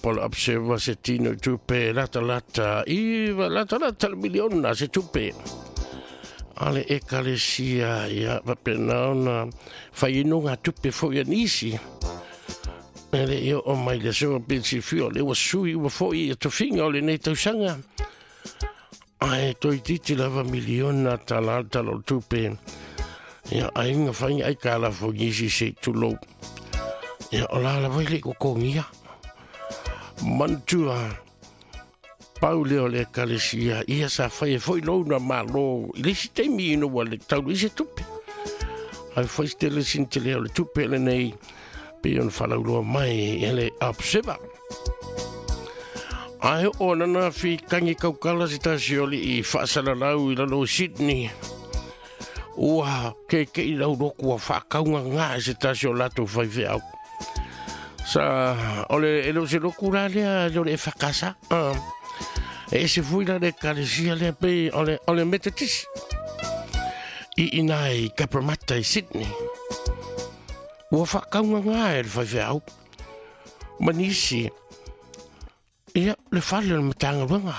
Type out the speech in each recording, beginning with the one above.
Po le Observer se tino i tupe latalata i latalata le miliona se tupe a le Ekalesia, ia faapena ona fai ai nogatupe foi a nisi. E le i oo mai le aso pe silafia o lea ua sui uma foi ia tofiga o lenei tausaga. Ae toeitiiti lava miliona tala le tala o le tupe. Ia, aiga fai aitalafu i nisi se i tulou. Ia, o la lava i le i totogia. Manatua, pau lea o le Ekalesia, ia sa fai ai foi lou na Malo i le isi taimi ina ua le tau i se tupe. Ae fai se tele sina tele o le tupe lenei, pei ona faalauiloa mai e le Observer. Ae oo anana fi tangi kaukala se tasi o alii faasalalau i lalo o Sydney. Ua keke'i lau loku ua faakaugagā e se tasi o latou faifeau. Sa, o le, e le o se loku la lea, e le o le EFKS. E ese foi la le ekalesia lea pei o le, o le Metotisi. I ina i Cabramatta i Sydney. Ua faakaugagā e le faifeau. Ma nisi, ia, le fale o le Matagaluega.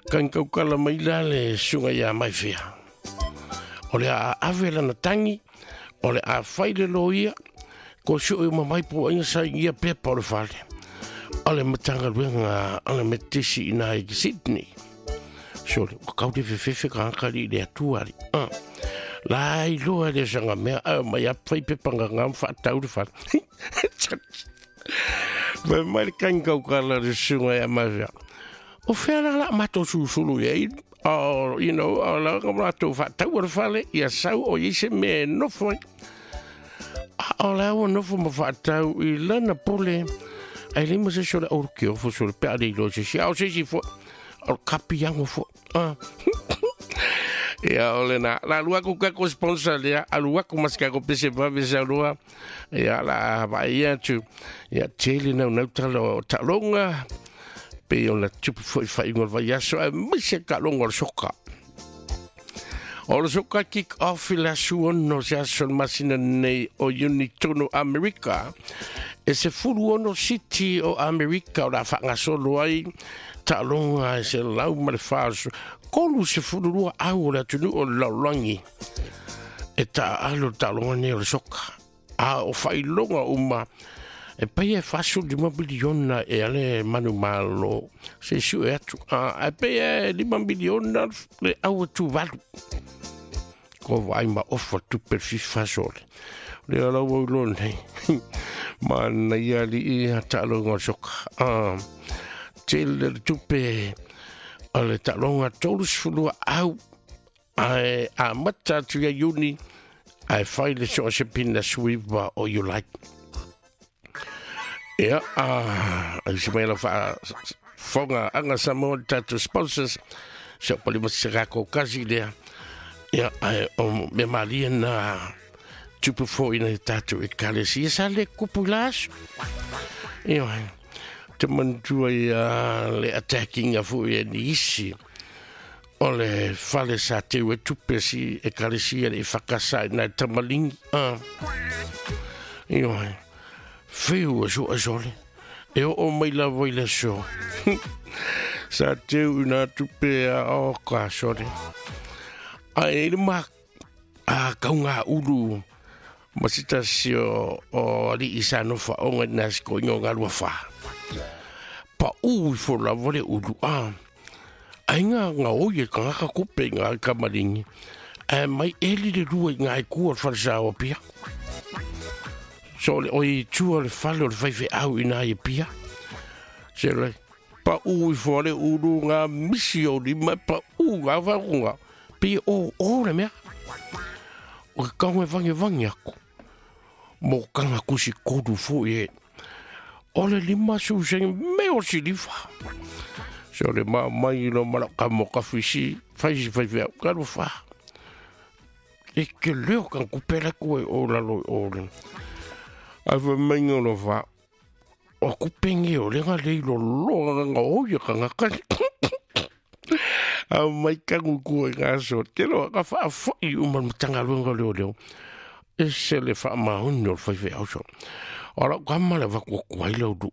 Kani kaukala mai la le susuga ia Maifea. O le a ave lana tangi, o le a fai le loia, ko sue uma mai po aiga sainia pepa o le fale. O le Matagaluega o le Metotisi ina i Sydney. Sole, ua kau le fefefe ka akali i le atua ali. Ah. La iloa le sanga mea, a mai a fai pepa nganga whaatau le fale. Fai mai le kani kaukala le susuga ia Mafia. O fea la la matou susulu i ai, o, you know, o la ka matou faataua le fale, ia sau o i se mea e nofo ai. A o la ua nofo ma faatau i lana pule, ai le ma se sole o ke ofo sole pe a le ilo se si, a o se si fo, o le kapiango fo. Ah. Ia o lena, la alu aku kako sponsor lea, alu aku mas kako pese vave sa lua. Ia la vai atu. Ia tele nau nau tala o taaloga pei ona tupu foi faaiuga o le vaiaso aemaise taaloga o le soka. O le soka kick off i le aso 6 se aso le masina nei o Iuni tonu Amerika. E 16 siti o Amerika o le a faagasolo ai taaloga e 142 au o le atunuu o le lalolagi e taaalo le taaloga nei o le soka. A o faailoga uma e pai e 45 miliona e ale manumalo se sue atu. A, e pei e 5 miliona le au atu valu. Ko vai ma ofa tupe FIFA sole. Le ala ua ulo nei. Ma na ia li i a taaloga o le soka. A, tele le tupe o le taaloga 32 au ae amata atu ia Iuni ae fai le so o se pina suiva o Iulai. Ia, a, ai se mai la wha fonga anga Samoa le tātou sponsors, se o pali masi kako kasi lea. Ia, ae o mea malie na tupu foi nei tātou ekalesia sa le kupu i la aso. Ia, te manatua ia le attackinga foi e ni isi o le fale sa teu e tupe si ekalesia le i whakasa i nai tamalingi. Ah. Ioe, whiu e sua sole. E oo mai lava i le aso. Sa teu i nā tupe a o ka sole. Ai, i le ma a kau ngā ulu ma se tasi o, o alii sa nofa onga i nā siko ingo ngā lua whā. Pa u i fo lava le ulu a. Ai ngā ngā oi e kangaka kupe i ngā kamaringi. Ae mai eli le lua i ngā i kua o le whare sa o pia. So le oi tua le whale o le whaiwhe au i nā i pia. Se le pa u i fo le ulu ngā misi o lima pa u ngā whakunga. Pei o o le mea. O ke kaunga e vangevange aku. Mo kanga kusi koru foi e. O le lima su senge me o silifa. Se o le ma mai lo mala ka mo ka fisi, fai si fai fai ka lo fa. E ke leo kan kupela ku e o lalo o le. A fa mai lo fa. O kupenge o le nga lei lo lo nga o ia ka nga ka. A mai kangu ku e nga so. Te lo ka fa foi uma matanga luenga leo leo. E se le wha mauni o le whai whai au so. O lau ka male waku ku ai lau du.